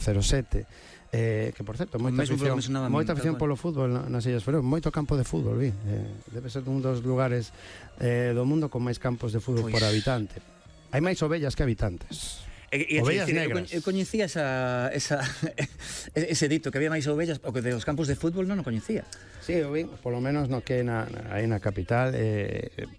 07, que por certo moita afición polo fútbol nas Illas Feroe, moito campo de fútbol, debe ser un dos lugares do mundo con máis campos de fútbol por habitante. Hai máis ovellas que habitantes. Ovellas negras. Eu coñecía ese dito que había máis ovellas, o que de os campos de fútbol non o coñecía. Sí, eu vin, polo menos no que aí na capital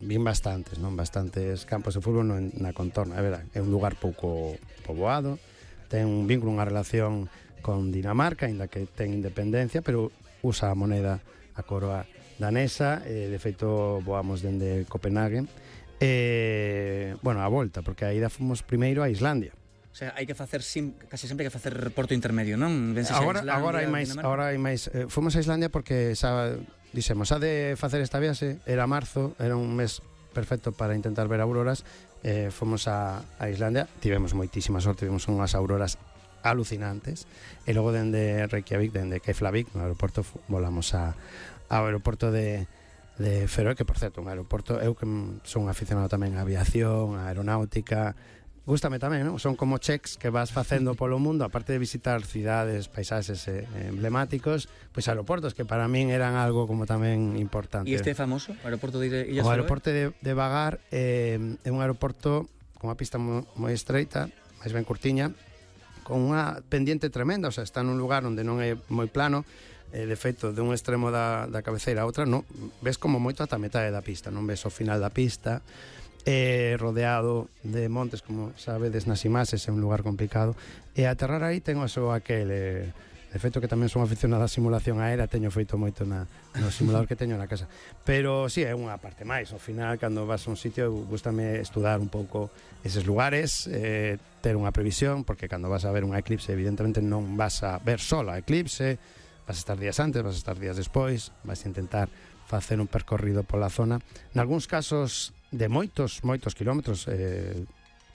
vin bastantes campos de fútbol na contorna, é verdade. É un lugar pouco poboado, ten un vínculo, unha relación con Dinamarca, aínda que ten independencia, pero usa a moneda, a coroa danesa, de feito voamos dende Copenhague, a volta, porque a ida fomos primeiro a Islandia. O sea, hai que facer casi sempre hai que facer porto intermedio, non? Agora hai máis. Fomos a Islandia porque dixemos, a de facer esta viaxe, era marzo, era un mes perfecto para intentar ver auroras. Fomos a Islandia, tivemos moitísima sorte, vimos unhas auroras alucinantes, e logo dende Reykjavik, dende Keflavik, no aeroporto, volamos ao aeroporto de Feroe, que por certo, un aeroporto, eu que son aficionado tamén á aviación, á aeronáutica, gústame tamén, non? Son como checks que vas facendo polo mundo, aparte de visitar cidades, paisaxes emblemáticos, pois aeroportos que para min eran algo como tamén importante. E este é famoso, o aeroporto de Illas Feroe? O aeroporto de Vagar é un aeroporto con unha pista moi estreita, máis ben curtiña, con unha pendiente tremenda, o sea, está nun lugar onde non é moi plano, de feito, de un extremo da cabeceira a outra, non ves como moito ata metade da pista, non ves o final da pista, rodeado de montes, como sabedes nas imaxes, é un lugar complicado, e aterrar aí ten o seu aquel, de feito que tamén son aficionado á simulación aérea, teño feito moito no simulador que teño na casa, pero si, é unha parte máis, ao final, cando vas a un sitio, gústame estudar un pouco eses lugares, ter unha previsión, porque cando vas a ver un eclipse, evidentemente non vas a ver só a eclipse, vas a estar días antes, vas a estar días despois, vas a intentar facer un percorrido pola zona, nalgúns casos de moitos kilómetros,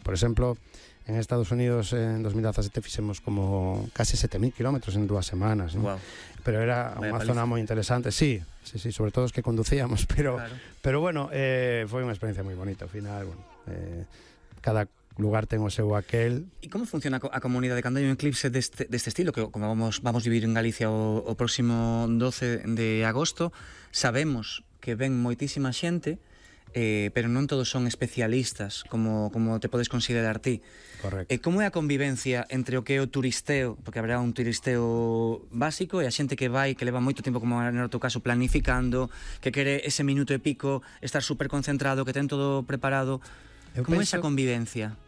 por exemplo, en Estados Unidos en 2017 fixemos como casi 7.000 kilómetros en 2 semanas, ¿no? Wow. Pero era unha zona moi interesante, sí, sobre todo os que conducíamos, pero bueno, foi unha experiencia moi bonita ao final, cada lugar ten o seu aquel. E como funciona a comunidade cando hai un eclipse deste estilo, que como vamos vivir en Galicia o próximo 12 de agosto, sabemos que ven moitísima xente, pero non todos son especialistas como te podes considerar ti. Correcto. Como é a convivencia entre o que é o turisteo, porque haberá un turisteo básico, e a xente que vai, que leva moito tempo, como no teu caso, planificando, que quere ese minuto e pico estar super concentrado, que ten todo preparado? Como é esa convivencia?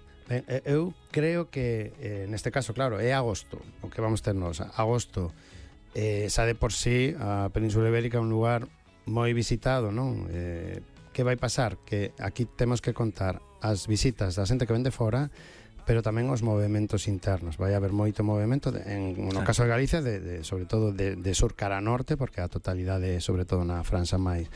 Eu creo que neste caso, claro, é agosto o que vamos ter nos. Agosto xa de por sí a Península Ibérica é un lugar moi visitado, non? Que vai pasar? Que aquí temos que contar as visitas da xente que vende fora, pero tamén os movementos internos. Vai haber moito movimento no caso de Galicia, sobre todo de sur cara a norte, porque a totalidade sobre todo na franxa máis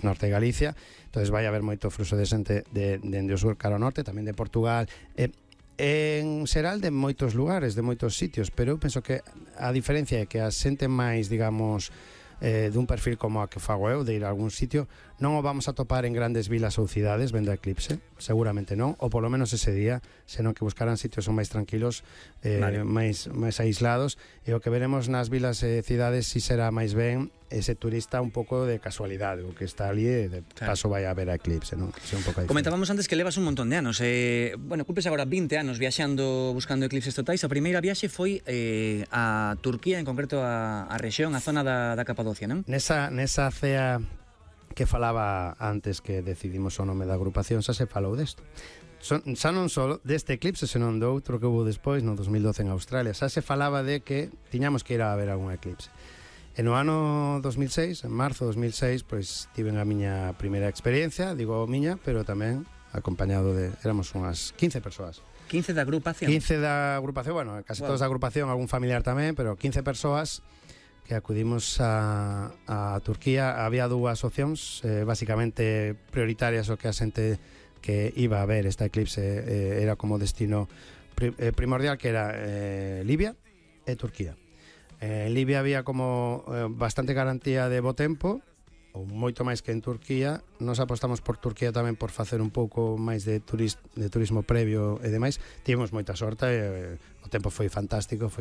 norte de Galicia. Entonces vai haber moito fluxo de xente dende o sur cara ao norte, tamén de Portugal, en xeral de moitos lugares, de moitos sitios, pero eu penso que a diferencia é que a xente máis, digamos, dun perfil como a que fago eu, de ir a algún sitio, non o vamos a topar en grandes vilas ou cidades vendo a eclipse, seguramente non, ou polo menos ese día, senón que buscarán sitios son máis tranquilos, máis aislados, e o que veremos nas vilas e cidades si será máis ben ese turista un pouco de casualidade, o que está ali e de paso vai a ver a eclipse, non? Comentábamos antes que levas un montón de anos, cumples agora 20 anos viaxando, buscando eclipses totais. A primeira viaxe foi a Turquía, en concreto a rexión, a zona da Capadocia, non? Nesa cea que falaba antes que decidimos o nome da agrupación, xa se falou desto. Xa non só deste eclipse, senón do outro que hubo despois, no 2012 en Australia, xa se falaba de que tiñamos que ir a ver algún eclipse. E no ano 2006, en marzo de 2006, pois tiven a miña primeira experiencia, digo miña, pero tamén acompañado éramos unhas 15 persoas. 15 da agrupación? 15 da agrupación, bueno, casi todos da agrupación, algún familiar tamén, pero 15 persoas que acudimos a Turquía. Había dúas opcións, basicamente prioritarias, o que a xente que iba a ver esta eclipse era como destino primordial, que era Libia e Turquía. En Libia había como bastante garantía de bo tempo, ou moito máis que en Turquía. Nos apostamos por Turquía tamén por facer un pouco máis de turismo previo e demais. Tivemos moita sorte, o tempo foi fantástico, foi